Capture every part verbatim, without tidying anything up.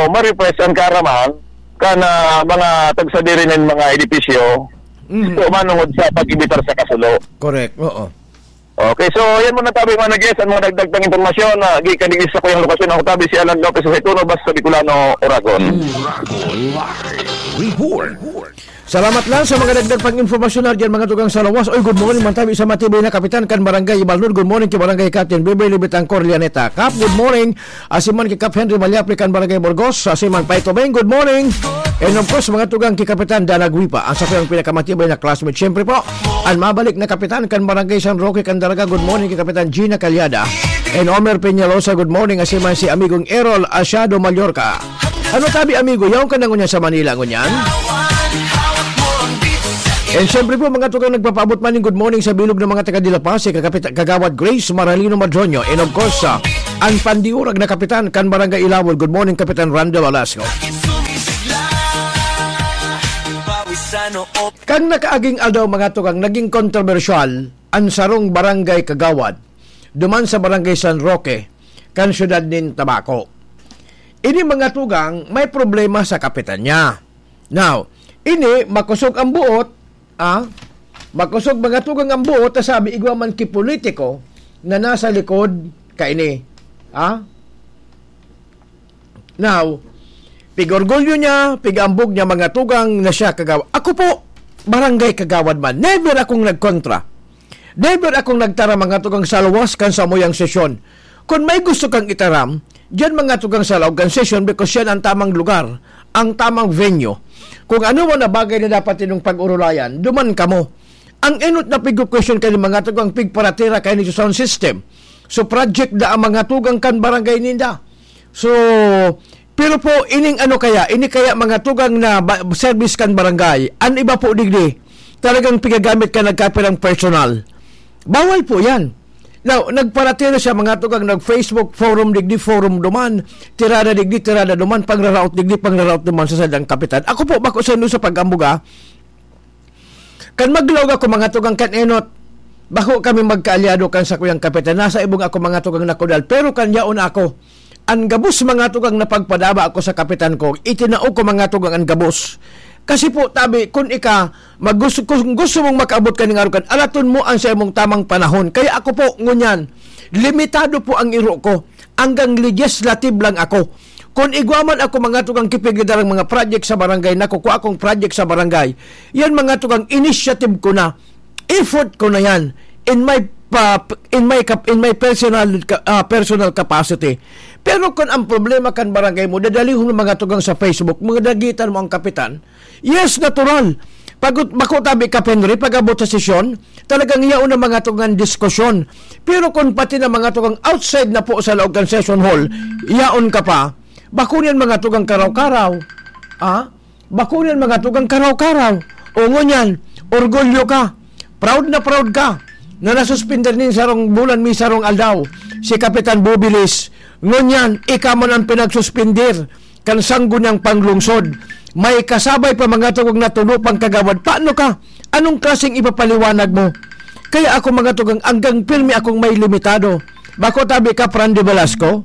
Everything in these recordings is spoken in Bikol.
ma-refresh ang kaaraman kan, ah, mga tagsadiri nin mga edipisyo, Mm. so, manungod sa pag-imbitar sa kasulo. Correct, oo. Okay, so, yan muna tabi, mga nag-guest, ang mga dagdag pang impormasyon na gikan digdi sa kuyang lokasyon. Ako tabi si Alan Lopez sa Saituno, Basta Bicolano, Oragon. Oragon Live Report. Salamat lang sa mga dagdag pang impormasyon na diyan, mga tugang sa lawas. Oy, good morning, man tabi sa matibay na kapitan kan Barangay Ibalnod. Good morning kay Barangay Captain Bebe Libitang Corlianeta. Kap, good morning. Asiman kay Kap Henry Malyapli kan Barangay Burgos. Asiman Pai Tobeng, good morning. And of course, mga tugang kay Kapitan Danag Wipa, ang sa kuyang pinakamatibay na classmate. Siyempre po, ang mabalik na kapitan kan Barangay San Roque kan Daraga. Good morning kay Kapitan Gina Calyada. And Omer Peñalosa, good morning. Asiman si amigong Errol Asiado Mallorca. Ano tabi, amigo? Yaon ka na ngunyan sa Manila ngunyan? And siyempre po, mga tugang, nagpapaabot man ng good morning sa bilog ng mga taga Dila Paz, si Kakapit-, Kagawad Grace Maralino Madroño. And of course, ah, ang pandiurag na kapitan kan Barangay Ilawol. Good morning, Kapitan Rando Velasco. Kan nakaaging aldaw, mga tugang, naging kontrobersyal ang sarong barangay kagawad duman sa Barangay San Roque, kan siyudad nin Tabaco. Ini, mga tugang, may problema sa kapitan niya. Now, ini makosog ang buot, ah, makosog, mga tugang, ang buot, ta sabi, igwa man ki politiko na nasa likod kaini. Ah? Now, pig-orgulyo niya, pig-ambog niya, mga tugang, na siya kagawa-, ako po, barangay kagawad man. Never akong nagkontra. Never akong nagtaram, mga tugang, sa luwas kan samuyang sesyon. Kun may gusto kang itaram, diyan, mga tugang, sa laog kan sesyon, because yan ang tamang lugar, ang tamang venue. Kung ano man na bagay na dapat ninyong pag-urulayan, duman kamo. Ang enot na pig-question kayo, mga tugang, pigparatira kayo ni sound system. So, project na ang mga tugang kan barangay ninda. So, pero po, ining ano kaya, ini kaya, mga tugang, na ba-, service kan barangay, an iba po digdi, talagang pigagamit ka nagkapirang personal. Bawal po yan. Now, nagparatira siya, mga tugang, nag-Facebook forum digdi, forum duman, tirada digdi, tirada duman, pangraraot digdi, pangraraot duman sa sadang kapitan. Ako po, bako sa inyo sa pag-ambuga, kan maglaog ako, mga tugang, kan enot, bako kami magkaalyado kan sakuyang kapitan. Nasa ibong ako, mga tugang, nakudal. Pero kan yaon ako, an gabos, mga tugang, na pagpadaba ako sa kapitan ko, itinao ko, mga tugang, an gabos. Kasi po, tabi, kun ika, mag-, gusto, kung gusto mong makaabot ka ning arukan, alaton mo an sa imong tamang panahon. Kaya ako po, ngunyan, limitado po ang iro ko. Hanggang legislative lang ako. Kun igwa man ako, mga tugang, kipigli darang mga project sa barangay, nakukua akong project sa barangay, yan, mga tugang, initiative ko na, effort ko na yan in my pa-, in my cap-, in my personal ka-, ah, personal capacity. Pero kun ang problema kan barangay mo, dadalihon mo, mga tugang, sa Facebook, mga dagitan mo ang kapitan, yes, natural. Pag-, bako tabi ka, Henry, pag-abot sa sesyon, talagang yaon ang mga tugang diskusyon. Pero kung pati na, mga tugang, outside na po sa laog kan session hall, yaon ka pa, bako niyan, mga tugang, karaw-karaw. Ah? Bako niyan, mga tugang, karaw-karaw. O ngunyan, orgulyo ka. Proud na proud ka na nasuspender nin sarong bulan, may sarong aldaw, si Kapitan Bubilis. Ngunyan, ika man ang pinagsuspender kan sangguniang panglungsod. May kasabay pa, mga tugang, na tulo pang kagawad. Paano ka? Anong klaseng ipapaliwanag mo? Kaya ako, mga tugang, hanggang pirmi akong may limitado. Bako tabi ka, Fran de Velasco,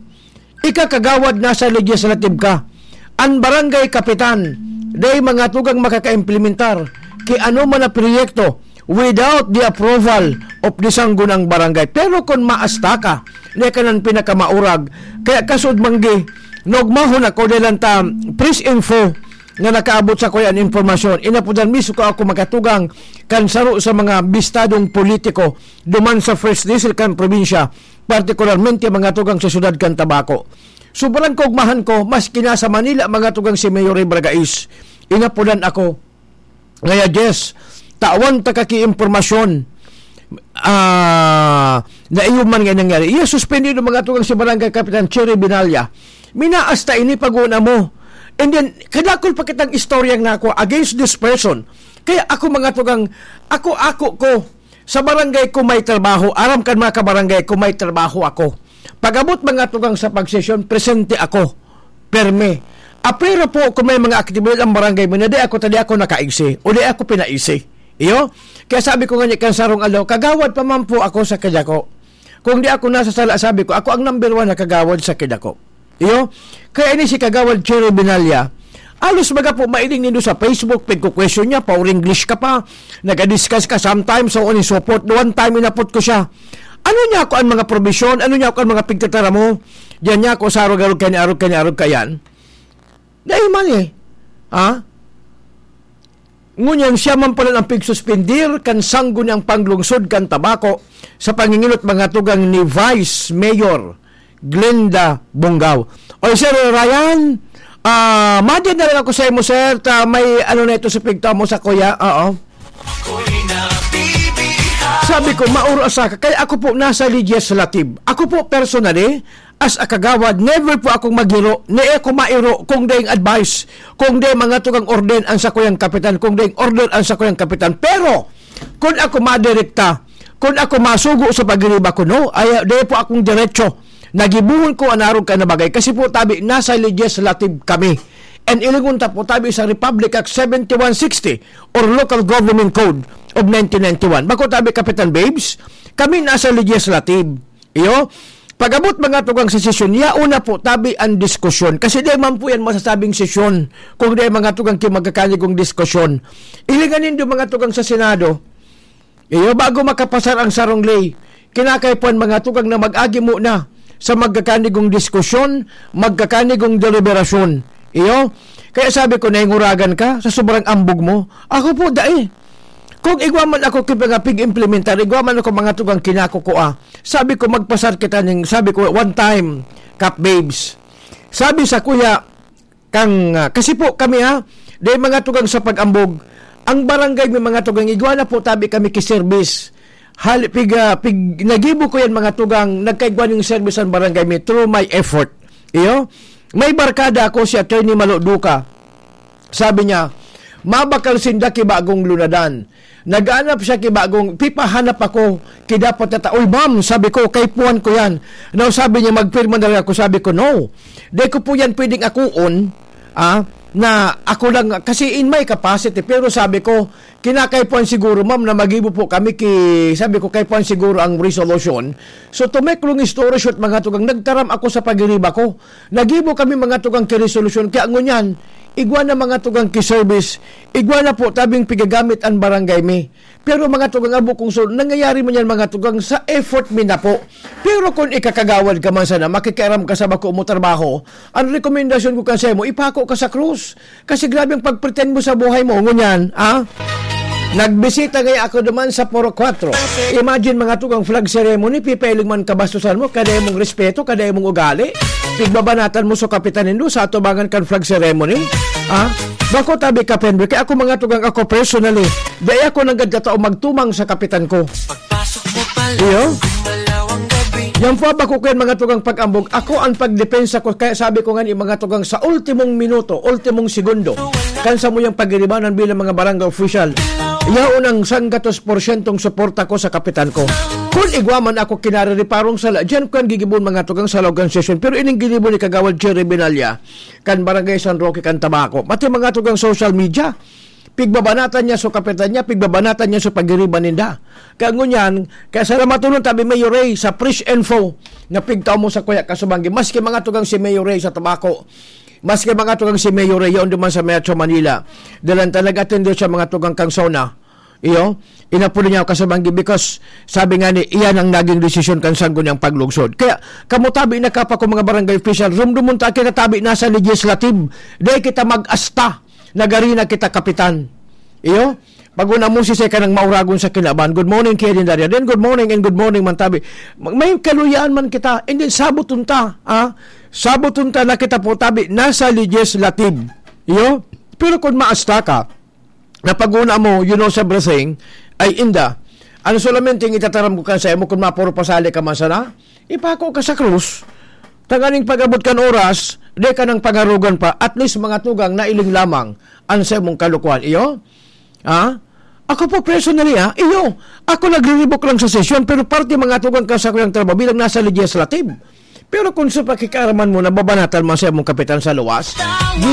ika kagawad, nasa legislative ka. An barangay kapitan, dai, mga tugang, makakaimplementar ki ano man na proyekto without the approval of the sanggunang barangay. Pero kun maasta ka, na ka nan pinakamaurag, kaya kasud manggi, nagmahon ako dahil lang ta press info na nakaabot sa kuya an impormasyon. Inapudan mismo ko ako makatugang kan saro sa mga bistadong politiko duman sa first district kan probinsya, partikularmente, mga tugang, sa siyudad kan Tabaco. Sobrang kaugmahan ko, maski nasa Manila, mga tugang, si Mayor Ray Bragais, inapudan ako. Ngaya, Jess, tawan ta ka ki impormasyon, ah, na iyo man nga nangyari. Iya suspendido, mga tugang, si Barangay Kapitan Cherry Binalya. Minaas ta ini pag-una mo. And then, kadakol pa kitang istoryang nako against this person. Kaya ako, mga tugang, ako, ako ko, sa barangay ko may trabaho, aram kan mga kabarangay ko may trabaho ako. Pag-abot, mga tugang, sa pagsesyon, presente ako. Perme. Apero po kung may mga aktibidad ang barangay mo na di ako, ta di ako nakaigsi o di ako pinaisi. Iyo? Kaya sabi ko nga ni kan sarong aldaw, kagawad pa man po ako sa Kidako. Kung di ako nasa sala, sabi ko, ako ang number one na kagawad sa Kidako. Iyo, kaya ini si Kagawad Cherry Binalya. Alos baga po mailing nindo sa Facebook, pagko-question niya, pa-English ka pa, nag-discuss ka sometimes, so on and so forth. One time, inapot ko siya. Ano niya ako ang mga probisyon? Ano niya ako ang mga pigtatara mo? Diyan niya ako sa arog-arog kanya, arog kanya, arog kayan. Dahil man eh. Ha? Ngunyan siya man pala ang pigsuspendir kan sanggo niyang panglungsod kan tabako sa panginginot mga tugang ni Vice Mayor Glenda Bongao. Oy, Sir Ryan, ah, madi na lang ako sa imo, sir. Ta, may ano na ito sa pigta mo sa kuya? Oo. Sabi ko, mauro sa ka. Kaya ako po nasa legislative. Ako po personally, as a kagawad, never po akong magiro, ni ako mairo kung daing advice, kung daing mga tugang order ang sakuyang kapitan, kung daing order ang sakuyang kapitan. Pero, kung ako madirekta, kung ako masugo sa pagiriba ko, no, ay, di po akong diretso. Nagibuhon ko ang arog ka na bagay. Kasi po, tabi, nasa legislative kami. And ilingon ta po, tabi, sa Republic Act seventy-one sixty or Local Government Code of nineteen ninety-one. Bako tabi, Kapitan Babes, kami nasa legislative. Iyo, pag-abot mga tugang sa sesyon, yaon na po tabi ang diskusyon. Kasi di man po yan masasabing sesyon kung di mga tugang ki magkakanigong diskusyon. Ilingan nindo mga tugang sa Senado. Iyo, bago makapasar ang sarong ley, kinakaipuhan mga tugang na mag-agi muna sa magkakanigong diskusyon, magkakanigong deliberasyon. Iyo, kaya sabi ko, nainguragan ka sa sobrang ambog mo. Ako po, dai. Kung igwa man ako ki mga pig-implementar, igwa man ako mga tugang kinakukua. Sabi ko, magpasar kita ning, sabi ko, one time, Kap Babes. Sabi sa kuya, kang, ah, kasi po kami ha, dahil mga tugang sa pag-ambog, ang barangay may mga tugang, igwa na po tabi kami ki service. Hali, pig, ah, pig, nagibo ko yan mga tugang, nagkaigwa ning service ang barangay may through my effort. Iyo, may barkada ako si Attorney Malo Duca. Sabi niya, mabakal sinda ki bagong lunadan. Naghanap siya ki bagong, pipahanap ako ki dapat na ta-, "Uy, ma'am," sabi ko, "kaipuhan ko yan." Now, sabi niya, "Magpirma na lang ako." Sabi ko, "No. Di ko po yan pwedeng akuon, ah, na ako lang," kasi in my capacity. Pero sabi ko, "Kinakaipuhan siguro, ma'am, na magibo po kami ki," sabi ko, "kaipuhan siguro ang resolution." So, to make long story short, mga tugang, nagtaram ako sa pagiriba ko. Nagibo kami mga tugang ki resolusyon. Kaya ngunyan, igwa na mga tugang ki service, igwa na po tabing pigagamit ang barangay mi. Pero mga tugang abo kong sol, nangyayari man yan mga tugang sa effort mi na po. Pero kung ikakagawad ka man sana, makikiaram ka sa bako mo trabaho, ang rekomendasyon ko kan mo, ipako ka sa krus. Kasi grabe ang pagpretend mo sa buhay mo. Ngunyan, ah? Nagbisita ngaya ako duman sa Purok Kwatro. Imagine, mga tugang flag ceremony, pipailing man kabastusan mo, kada imong respeto, kada imong ugali. Pigbabanatan mo sa kapitan nindo sa atubangan kan flag ceremony. Ah? Bako tabi ka, Penry. Kaya ako, mga tugang, ako personally, dai ako nanggad katao magtumang sa kapitan ko. Iyo? Yan po, bako ko yan, mga tugang pag-ambog. Ako ang pagdepensa ko, kaya sabi ko nga ni, mga tugang, sa ultimong minuto, ultimong segundo, kan sa mo yung pagiribanan bilang mga barangay official, yaon ang sanggatos porsyentong suporta ko sa kapitan ko. Kung igwa man ako kinaririparong sala, diyan ko ang gigibon, mga tugang, sa laog kan sesyon. Pero ining ginibo ni Kagawad Cherry Binalya, kan Barangay San Roque, kan Tabaco. Pati mga tugang social media, pigbabanatan niya so kapitan niya, pigbabanatan niya so pagiriba ninda. Kaya ngunyan, kaya salamaton tabi Mayor Ray sa fresh info na pigtao mo sa kuya kasubanggi. Maski mga tugang si Mayor Ray sa Tabaco, maski mga tugang si Mayor Ray, yaon duman sa Metro Manila. Dalan talaga atendo siya mga tugang kang SONA. Iyo, inapulo niya kasubanggi because sabi nga ni, iyan ang naging desisyon kan sanggo niyang paglugsod. Kaya, kamutabi na kapa ko mga barangay official, rumdumon ta kinatabi nasa legislative. Dahil kita mag-asta. Nagarina kita, Kapitan. Iyo, pag-una mo si Seka ng Mauragon sa Kinaban. Good morning, Kevin Daria. Then good morning and good morning, Mantabi. Mag-, may kaluyaan man kita. And then, sabuton ta, ah? Sabuton ta na kita po, tabi, nasa legislative. Iyo? Pero kung maasta ka, na pag-una mo, you know everything, ay inda. Ano solamente ang itataram ko kan sa imo, kung mapuro pasali ka man sana? Ipako ka sa krus. Tanganing pag-abot kan oras, di ka nang pangarugan pa, at least mga tugang na iling lamang an sa imong kalukuhan. Iyo? Ha? Ako po personally, ha? Iyo, ako nagriribok lang sa sesyon, pero parte mga tugang ka sa kuyang trabaho bilang nasa legislative. Pero kung sa pakikiaraman mo, nababanatan man sa imong kapitan sa luwas,